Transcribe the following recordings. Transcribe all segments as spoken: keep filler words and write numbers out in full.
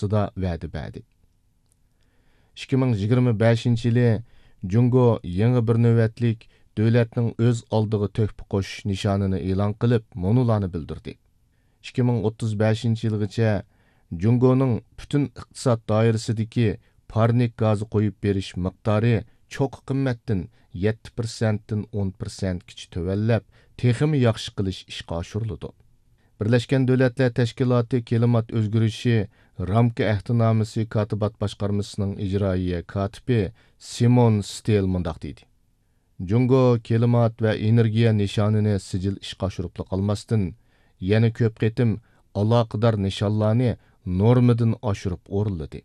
توغرىسىدا ۋەدە بەردى. ئىككى مىڭ يىگىرمە بەشىنچى يىلى جۇڭگو يېڭى بىر نۆۋەتلىك دۆلەتنىڭ ئۆز ئالدىغا تۆھپە قوشۇش نىشانىنى ئېلان قىلىپ، مۇنۇلارنى بىلدۈردى. ئىككى مىڭ ئوتتۇز بەشىنچى يىلغىچە جۇڭگونىڭ پۈتۈن ئىقتىساد دائىرىسىدىكى پارنىك گازى قويۇپ بېرىش مىقدارى چوققا قىممەتتىن يەتتە پىرسەنتتىن ئون پىرسەنتكىچە تۆۋەنلەپ، تېخىمۇ ياخشى قىلىش ئىشقا ئاشۇرۇلىدۇ. بىرلەشكەن دۆلەتلەر تەشكىلاتى كىلىمات ئۆزگىرىشى رامكا ئەھدىنامىسى كاتىبات باشقارمىسىنىڭ ئىجرائىيە كاتىپى سىمون ستېل مۇنداق دېدى: جۇڭگو كىلىمات ۋە ئېنېرگىيە نىشانىنى سىجىل ئىشقا ئاشۇرۇپلا قالماستىن، يەنە كۆپ قېتىم ئالاقىدار نىشانلارنى نورمىدىن ئاشۇرۇپ ئورۇنلىدى.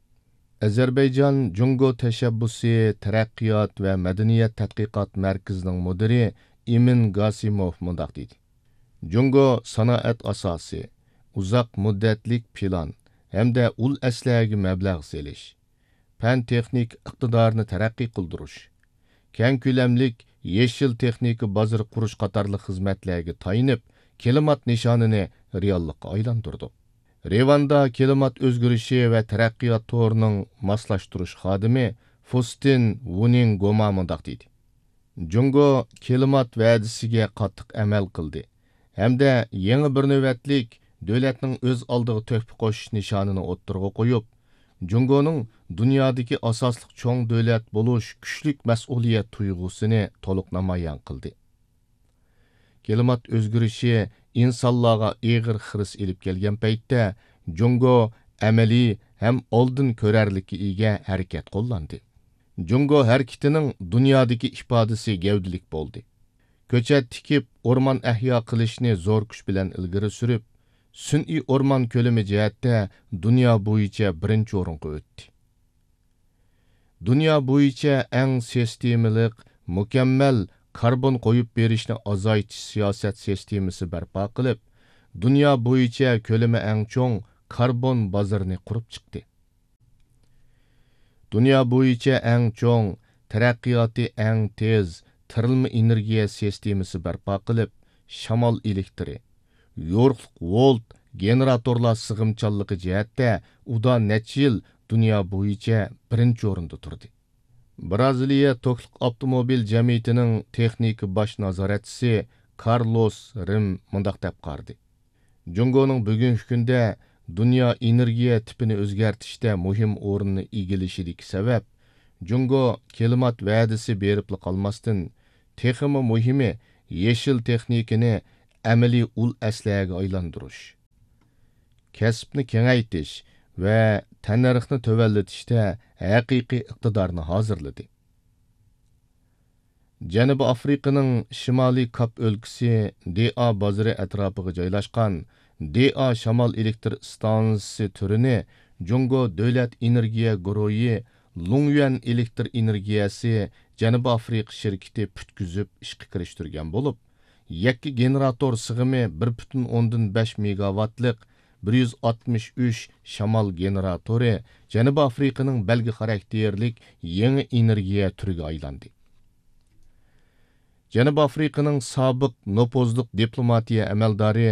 ئەزەربەيجان جۇڭگو تەشەببۇسى، تەرەققىيات ۋە مەدەنىيەت تەتقىقات مەركىزىنىڭ مۇدىرى ئىمىن گاسىموف مۇنداق دېدى: جۇڭگو سانائەت ئاساسى، ئۇزاق مۇددەتلىك پىلان ھەمدە ئۇل ئەسلىھەگە مەبلەغ سېلىش، پەن-تېخنىكا ئىقتىدارىنى تەرەققىي قىلدۇرۇش، كەڭ كۆلەملىك يېشىل تېخنىكا بازىرى قۇرۇش قاتارلىق خىزمەتلەرگە تايىنىپ، كىلىمات نىشانىنى رېئاللىققا ئايلاندۇردۇق. رېۋاندا كىلىمات ئۆزگىرىشى ۋە تەرەققىيات تورىنىڭ ماسلاشتۇرۇش خادىمى فۇستىن ۋۇنىڭ گوما مۇنداق دېدى: جۇڭگو كىلىمات ۋەدىسىگە قاتتىق ئەمەل قىلدى ھەمدە يېڭى بىر نۆۋەتلىك دۆلەتنىڭ ئۆز ئالدىغا تۆھپە قوشۇش نىشانىنى ئوتتۇرىغا قويۇپ، جۇڭگونىڭ دۇنيادىكى ئاساسلىق چوڭ دۆلەت بولۇش كۈچلۈك مەسئۇلىيەت تۇيغۇسىنى تولۇق نامايان قىلدى. كىلىمات ئۆزگىرىشى ئىنسانلارغا ئېغىر خىرىس ئېلىپ كەلگەن پەيتتە، جۇڭگو ئەمەلىي ھەم ئالدىن كۆرەرلىككە ئىگە ھەرىكەت قوللاندى. جۇڭگو ھەرىكىتىنىڭ دۇنيادىكى ئىپادىسى گەۋدىلىك بولدى. كۆچەت تىكىپ، ئورمان ئەھيا قىلىشنى زور كۈچ بىلەن ئىلگىرى سۈرۈپ، سۈنئىي ئورمان كۆلىمى جەھەتتە دۇنيا بويىچە بىرىنچى ئورۇنغا ئۆتتى. دۇنيا بويىچە ئەڭ سىستېمىلىق، مۇكەممەل كاربون قويۇپ بېرىشنى ئازايتىش سىياسەت سىستېمىسى بەرپا قىلىپ، دۇنيا بويىچە كۆلىمى ئەڭ چوڭ كاربون بازىرىنى قۇرۇپ چىقتى. دۇنيا بويىچە ئەڭ چوڭ، تەرەققىياتى ئەڭ تېز تىرىلما ئېنېرگىيە سىستېمىسى بەرپا قىلىپ، شامال ئېلېكتىرى، يورۇقلۇق ۋولت گېنېراتورلار سىغىمچانلىقى جەھەتتە ئۇدا نەچچە يىل دۇنيا بويىچە بىرىنچى ئورۇندا تۇردى. بىرازىلىيە توكلۇق ئاپتوموبىل جەمئىيىتىنىڭ تېخنىكا باش نازارەتچىسى كارلوس رىم مۇنداق دەپ قارىدى: جۇڭگونىڭ بۈگۈنكى كۈندە دۇنيا ئېنېرگىيە تىپىنى ئۆزگەرتىشتە مۇھىم ئورۇننى ئىگىلىشىدىكى سەۋەب، جۇڭگو كىلىمات ۋەدىسى بېرىپلا قالماستىن، تېخىمۇ مۇھىمى، يېشىل تېخنىكىنى ئەمەلىي ئۇل ئەسلىھەگە ئايلاندۇرۇش، كەسىپنى كېڭەيتىش ۋە تەننەرخنى تۆۋەنلىتىشتە ھەقىقىي ئىقتىدارنى ھازىرلىدى. جەنۇبىي ئافرىقىنىڭ شىمالىي كاپ ئۆلكىسى دېئا بازىرى ئەتراپىغا جايلاشقان دېئا شامال ئېلېكتر ئىستانسىسى تۈرىنى جۇڭگو دۆلەت ئېنېرگىيە گۇرۇھى لۇڭيۈەن ئېلېكتر ئېنېرگىيەسى جەنۇبىي ئافرىقا شىركىتى پۈتكۈزۈپ ئىشقا كىرىشتۈرگەن بولۇپ، يەككە گېنېراتور سىغىمى بىر پۈتۈن ئوندىن بەش مېگاۋاتلىق بىر يۈز ئاتمىش ئۈچ شامال گېنېراتورى جەنۇبىي ئافرىقىنىڭ بەلگە خاراكتېرلىك يېڭى ئېنېرگىيە تۈرىگە ئايلاندى. جەنۇبىي ئافرىقىنىڭ سابىق نوپۇزلۇق دىپلوماتىيە ئەمەلدارى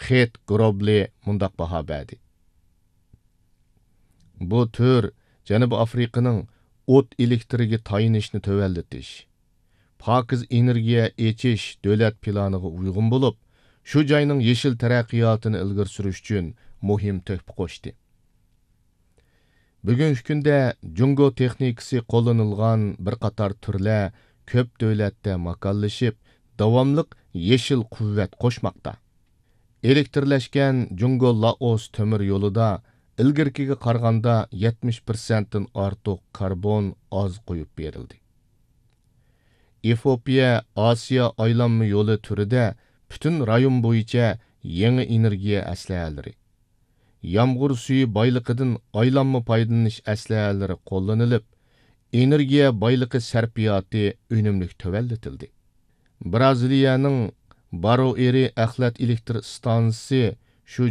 خېت گروبلى مۇنداق باھا بەردى: بۇ تۈر جەنۇبىي ئافرىقىنىڭ ئوت ئېلېكتىرىگە تايىنىشنى تۆۋەنلىتىش، پاكىز ئېنېرگىيە ئېچىش دۆلەت پىلانىغا ئۇيغۇن بولۇپ، شۇ جاينىڭ يېشىل تەرەققىياتىنى ئىلگىرى سۈرۈش ئۈچۈن مۇھىم تۆھپە قوشتى. بۈگۈنكى كۈندە جۇڭگو تېخنىكىسى قوللىنىلغان بىر قاتار تۈرلەر كۆپ دۆلەتتە ماكانلىشىپ، داۋاملىق يېشىل قۇۋۋەت قوشماقتا. ئېلېكترلەشكەن جۇڭگو لائوس تۆمۈر يولىدا ئىلگىرىكىگە قارىغاندا يەتمىش پىرسەنتتىن ئارتۇق كاربون ئاز قويۇپ بېرىلدى. ئېفىئوپىيە ئاسىيا ئايلانما يولى تۈرىدە پۈتۈن رايون بويىچە يېڭى ئېنېرگىيە ئەسلىھەلىرى، يامغۇر سۈيى بايلىقىدىن ئايلانما پايدىلىنىش ئەسلىھەلىرى قوللىنىلىپ، ئېنېرگىيە بايلىقى سەرپىياتى ئۈنۈملۈك تۆۋەنلىتىلدى. بىرازىلىيەنىڭ بارۇئېرى ئەخلەت ئېلېكتر ئىستانسىسى شۇ